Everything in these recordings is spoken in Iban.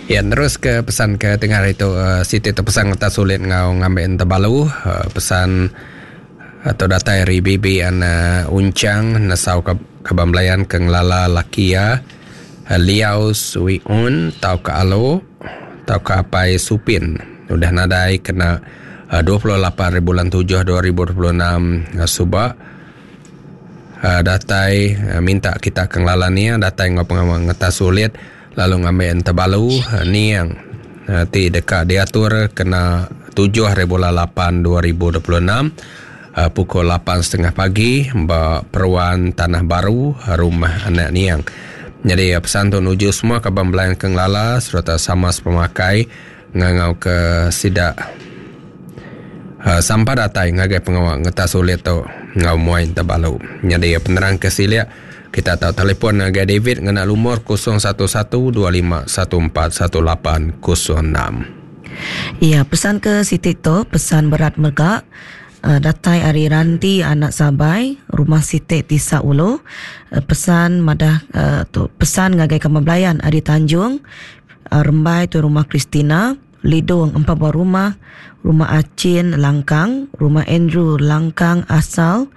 Ya nerus ke pesan ke tengah hari tu uh, siti tu pesan ngeta sulit ngau ngambi entebalu uh, pesan atau datai ari bibi anak Unchang nesau ke kaban belayan ke ngelala laki iya Liau Sui Un tauka Alo tauka Apai Supin udah nadai kena 28 hari bulan 7 2026 suba datai minta kita ke ngelala nia datai enggau pengawa ngetas ulit lalu ngambi entebalu niang ti deka diatur kena tujuh hari bulan lapan 2026 pukul 8.30 pagi ba Peruan Tanah Baru Rumah Anak Niang. Jadi pesan tu nuju semua kaban belayan ke ngelala sereta sama sepemakai ngangau ke sida sampai datai ngagai pengawa ngetas ulit tu enggau muai entebalu. Jadi penerang ke silik kita tau telefon ngagai David ngena lumur 011-25141806. Ya, pesan ke siti tu, pesan berat mega datai ari Ranti anak Sabai, rumah siti Tisa Ulu. Pesan madah tu pesan ngagai kaban belayan ari Tanjung Rembai tu rumah Christina, Lidong empat buah rumah, rumah Achin Langkang, rumah Andrew Langkang asal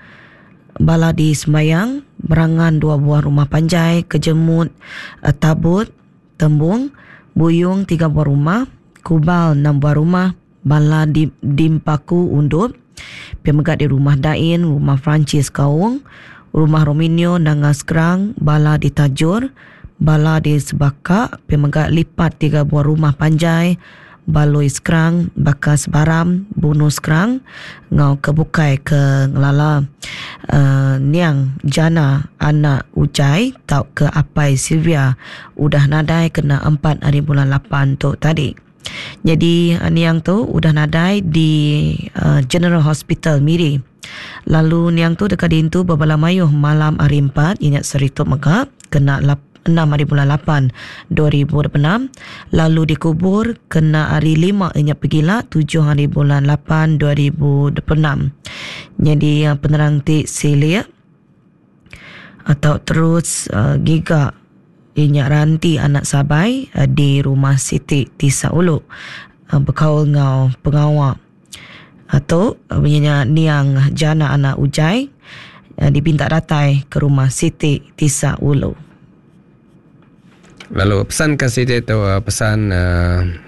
bala di Sembayang, Berangan dua buah rumah panjai, Kejemut Tabut Tembung, Buyung tiga buah rumah, Kubal enam buah rumah, bala di Dimpaku Undup, pia mega di Rumah Dain, Rumah Francis Kaung, Rumah Rominio Nanga Skrang, bala di Tajur, bala di Sebaka, pia mega lipat tiga buah rumah panjai, Balui Skrang, baka Sebaram, Bunu Skrang enggau ke bukai ke ngelala uhh niang Jana anak Ujai tauka apai Sylvia udah nadai kena empat hari bulan lapan tu tadi. Nyadi niang tu udah nadai di General Hospital Miri. Lalu niang tu deka diintu bebala mayuh malam hari empat iya nya sehari tu mega kena enam hari bulan lapan 2026 lalu dikubur kena hari lima iya nya pegila tujuh hari bulan lapan 2026. Nyadi penerang ti silik atau terus giga iya nya Ranti anak Sabai di rumah siti Tisa Ulu bekaul enggau pengawa tu iya nya niang Jana anak Ujai dipinta datai ke rumah siti Tisa Ulu. Lalu pesan ke siti tu pesan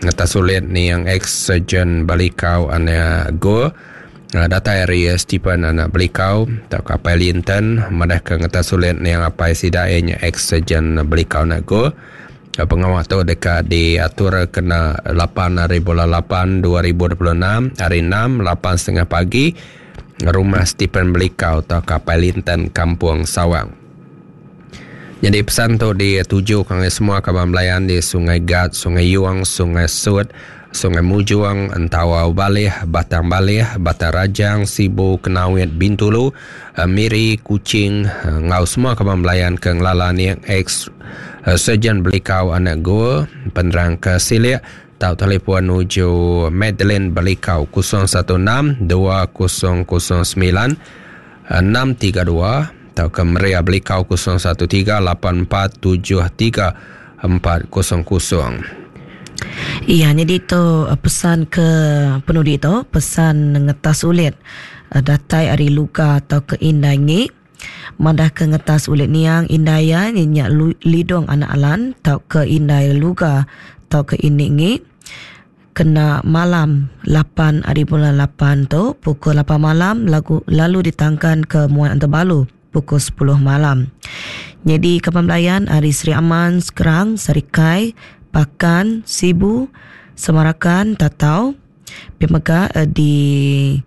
ngetas sulit niang ex-surgeon Balikau anak Go datai ari Stephen anak Belikau tauka apai Linton madah ke ngetas sulit niang apai sida iya nya ex-surgeon Belikau anak Go. Pengawa tu deka diatur kena lapan hari bulan lapan 2026 hari enam 8.30 pagi rumah Stephen Belikau tauka apai Linton Kampung Sawang. Nyadi pesan tu dituju ke ngagai semua kaban belayan di Sungai Gat, Sungai Yong, Sungai Sut, Sungai Mujong, Entawau Baleh, Batang Baleh, Batang Rajang, Sibu, Kenawit, Bintulu, Miri, Kuching enggau semua kaban belayan ke ngelala niang ex Surgeon Belikau anak Gul, penerang ke silik tau telefon nuju Madeline Belikau 016 2009 632 tauka Maria Belikau 013 8473 400. Iya nyadi tu pesan ke penudi tu pesan ngetas ulit datai ari Luga tauka Indai Ngi madah ke ngetas ulit niang indai iya nya Lidong anak Alan tauka Indai Luga tauka Ini Ngi. Kena malam lapan ari bulan lapan tu pukul lapan malam lagu lalu ditangkan ke Muai Antebalu pukul sepuluh malam. Nyadi kaban belayan ari Sri Aman, Skrang, Sarikai, Pakan, Sibu, Semarakan, Tatau pia mega di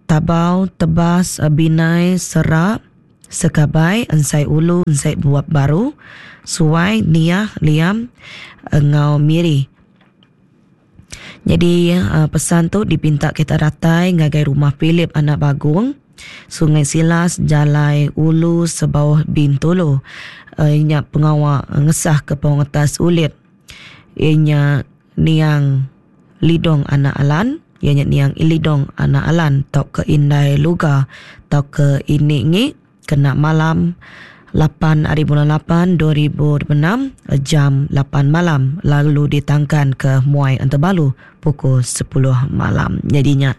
Tabau, Tebas, Binai, Serak, Sekabai, Ensai Ulu, Ensai Buap Baru, Suai, Niah, Liam enggau Miri. Nyadi pesan tu dipinta kita datai ngagai rumah Philip anak Bagong, Sungai Silas, Jalai Ulu Sebauh Bintulu. Nya pengawa ngesah ke pengetas ulit iya nya niang Lidong anak Alan, iya nya niang Lidong anak Alan tauka Indai Luga tauka Ini Ngi kena malam. 8 ari bulan 8 2026 jam 8 malam lalu ditangkan ke Muai Entebalu pukul 10 malam. Jadi nya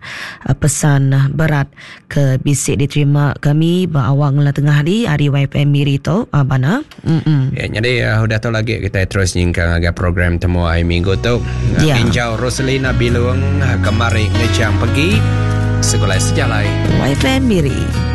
eh, pesan berat ke bisi diterima kami ba awak ngela tengah hari hari YFM Miri tu ah, bana. Mm Ya, jadi uh, udah tu lagi kita terus nyingkang agak program temu hari minggu tu. Ya. Injau Roselina Bilung kemari ngejang pergi segulai sejalai YFM Miri.